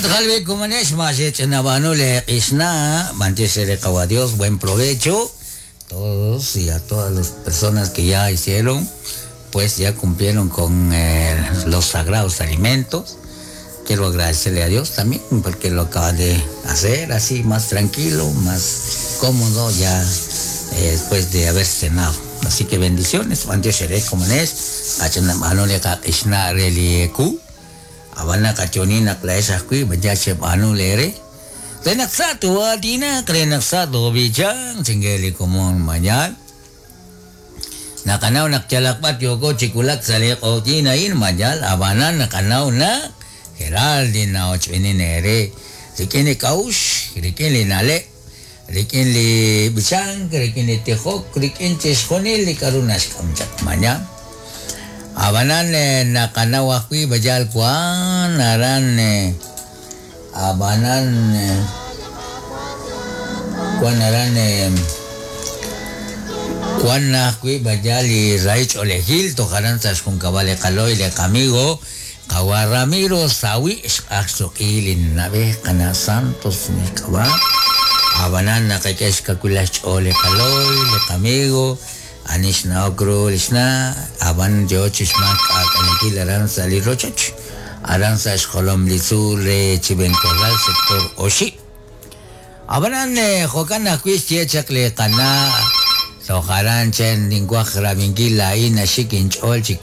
Jokan Dios, buen provecho todos y a todas las personas que ya hicieron, pues ya cumplieron con los sagrados alimentos. Quiero agradecerle a Dios también porque lo acaba de hacer así más tranquilo, más cómodo ya después de haber cenado. Así que bendiciones, abana kachonina klaesakui bajache banu lere renaksa tu adina renaksa tu bijang singgeli komon mañal nakanaw nakchalakpat yoko chikulak sale otina in mañal abana nakanaw na Geraldine na ochvini nere rikini kaush rikini nale rikini bichang rikini tejok rikini chesjonil karunas kamchak mañal abanan nakanaw akwi bajal kuan aran abanan kuan aran kuan akwi bajal i raich olejil tojaran sas junkabale kaloy le amigo kawa Ramiro sawi axoqilin nabe kana Santos ni kawa abanan nakakesh kakulash ole kaloy le amigo Anishna okro lishna aban yo chishmak akanikil aran sali rochach aran sa xolom lizu re chibencorral sector oshi abanan jokan akuis chechak le kana sojaran chen linguaj rabinkil la ina shikin cholchik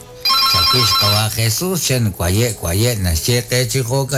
chakish kawa Jesús chen kwaye kwaye na cheque chijoka.